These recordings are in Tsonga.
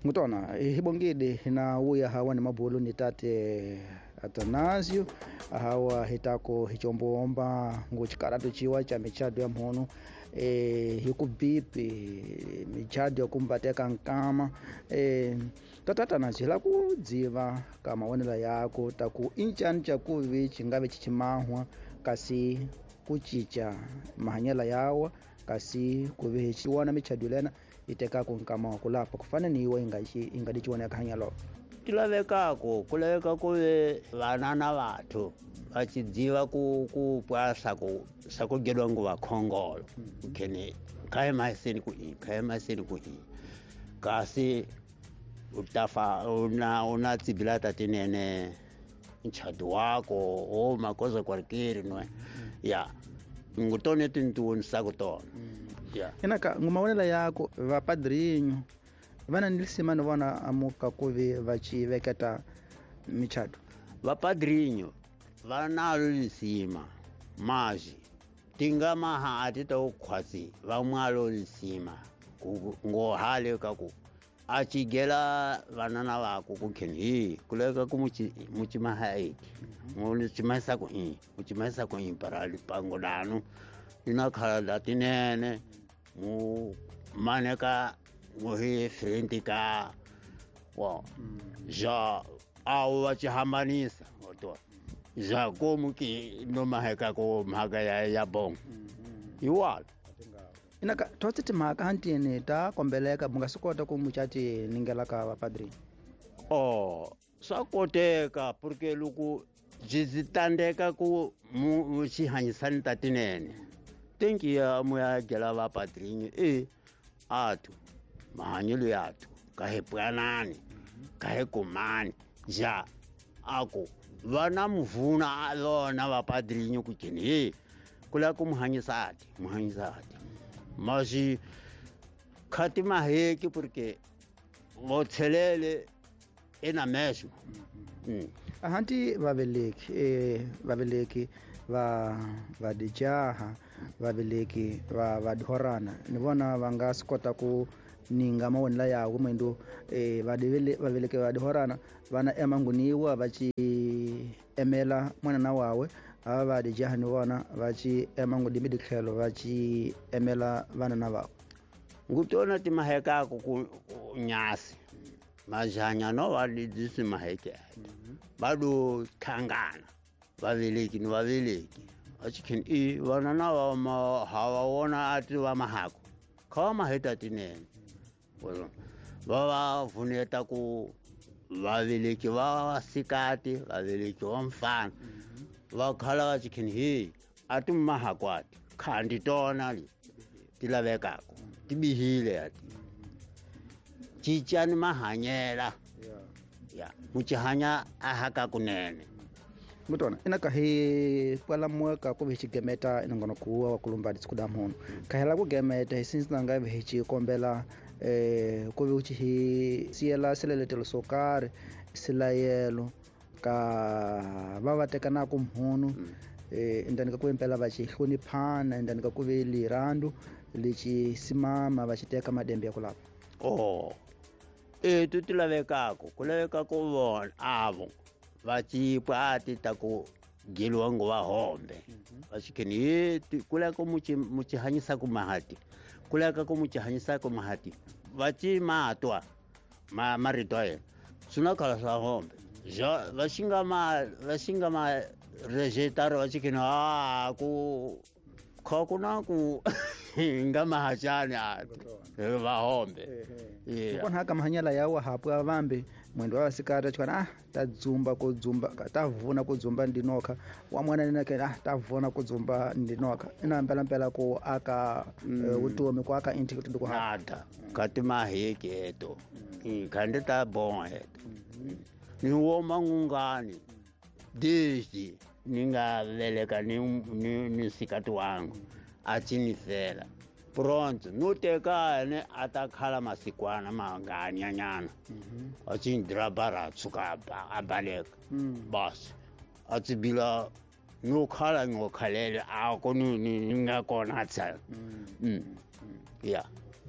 Ngutona hibongide na uya hawa ni mabulu ni tate Atanasio hawa hitako hichomboomba nguchikaratu chiwa cha michado ya mhono hikubipi michado ya kumbateka nkama tata Atanasio la kudziva kama wonela yako taku inchani chakuvi chingave chichimahwa kasi kuchicha mahanyela yawa kasi kuve chiwana michado lena iteka kunkama kulapa kufana niwe ingadichiwana yakahanyalo tilavekako kulaveka kuve vana na vathu vachidziva ku pwa sakugedwa nguva khongolo ukhene khaye mahiseni ku i khaye mahiseni ku i kasi utafa una tsibila tatinene nchadu wako o makoza kwarikiri nwe ya ngutone tintuni sakutona ya inaka ngumawonela yako vapadrinho vana nilisima ni vona amuka kuve vachiveketa michado vapadrinho vanalo lisima mazi tingamaha atita ukhwasi vamwalo lisima ngohale kaku achigela vanana vako kukheni hi kuleka ku muchimaha eti muchimahisa ku i muchimahisa ku i para lipango lanu linakhala latinene mu maneka muhi friend ka wa ja awu vachihambanisa otwa ja komu ki nomaheka ko mhaka ya bongo iwala inaka totse timhaka hantini ta kombeleka munga swi kota ku muchati ningela ka vapadrini oh swa koteka porque loko byi tandeka ku muxihanyisani ta tinene tenki ya muya gela vapadrini e athu mahanyelo yathu ka hi pwanani ka hi kumani ja aku vana muvuna vona vapadrinho ku keni he kula ku muhanyisati masi khati maheki porque vothelele ena mesmo ahanti vaveleki vaveleki va vadijaha vaveleki va vadihorana ni vona va nga swi kota ku ninga mawonela yawo mwendo vaveleki vadihorana vana emanguniwa va ci emela mwanana wawe ava vadijaha ni vona va ci ema ngudimi ditlhelo va ci emela vanana vavo ngutona timahekako ku nyasi majanya no va lidzisi maheke va do thangana vaveleki ni vaveleki vachikheni i vanana va hava wona ati va mahako kha va maheta tinene va va vuneta ku vaveleki va vasikati vaveleki va mfana va khala va chikheni he ati mahako ati khandi tona li ti lavekako ti bihile ati cincani mahanyela ya muchihanya ahaka kunene mutona inaka hi kwalamuka ku hi xigemeta inongono kuwa wa kulumba ditsikuda mhono kahela ku gemeta hi since nga hi xi kombela ku vi hi siyela seleletelo swo karhi silayelo ka va va tekana ku mhono endani ka ku impela va xi hloniphana endani ka ku ve lirandu lexi simama va xi teka madembe ya ku lava oh etu ti lavekako ku laveka ku vona avo va cipwa ati ta ku geliwa ngo va hombe va xikheni ye ku laveka muchihanyisa ku mahati ku laveka ku muchihanyisa ku mahati va ci matwa marito ya yena swi na khala swa hombe ja va xi nga ma rejetaro va xikheni a ku kha ku na ku nga mahachani ati va hombe kona haka mahanyela yawa hapwa vambe mwendo wa sikata chikana ta dzumba ku dzumba ta vuna ku dzumba ndinoka wa mwana nina ke ta vuna ku dzumba ndinoka ina mpela mpela ku aka utomi ku aka integrity ku hada kati maheke eto khandi ta bonga eto ni woma ngungani dezi ni nga veleka ni sikati wangu achinisela pronto no tekane ata khala masikwana manganyanyana achindira tshuka abaleka bas atsibila no khala ngokhalele ako ni nga kona tsa ya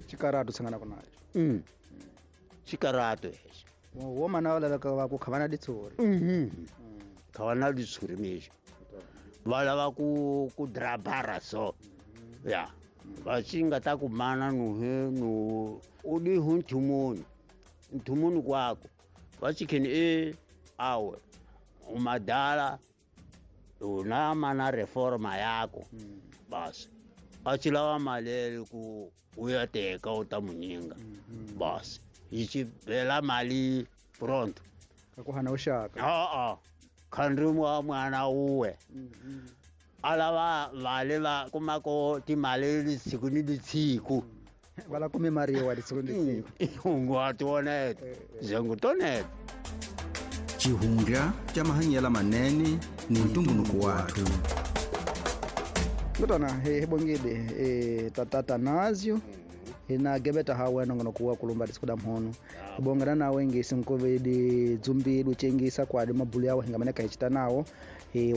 chikaratu sangana kona Xikarato hexo. Wo mana va laveka va ku kha va na ditshuri. Kha va na ditshuri mexo. Va lava ku drabara so. Ya. Va xi nga ta ku mana nuhe nu u di hu nthumuni. Nthumuni kwako. Va xi kheni e awe. Umadala una mana reforma yako. Basi. A xi lava mali ku u ya teka u ta munyinga. Basi. Yi xi bela mali pronto. Ka ku hana uxaka. A-a. Khandri wa mwana uwe. A lava vale va kumako timali lisiku ni lisiku. Va la kume mariwa lisiku ni lisiku. Ungu tonete. Zengu tonete. Xihundla xa mahanyelo manene ni ntumbuluko wathu. Kutana hi bongile tata Tanazio hina gebeta ha wena ngono kuwa kulumba disikuda mhono. Bongana nawe ngisi nkovedi dzumbi luchengisa kwa de mabulu yawo hingamaneka hichita nawo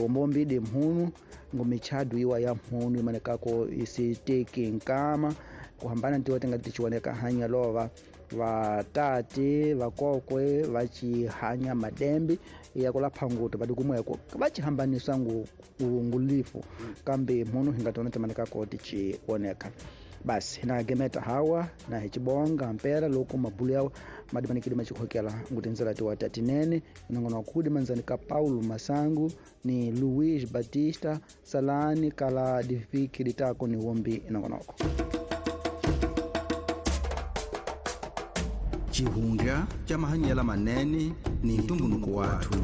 ombombi de mhunu ngomichadu iwa ya mhunu imanekako isiteki nkama kuhambana ntiwa tenga tichiwoneka hanya lova vatate vakokwe vachihanya madembi ya kulapha nguto vadi kumweko vachihambanisa ngulifu kambe mhunu hingatona timanekako tichiwoneka. Basi na gemeta hawa na hichibonga mpera loko mabulu yawo madimanikidi machikhokela ngutinzela tiwa tatinene nongono kudi manzani ka Paulo Masangu ni Luis Batista Salani kala difiki ditako ni wombi nongonoko. Xihundla xa mahanyelo manene ni ntumbuluko wathu.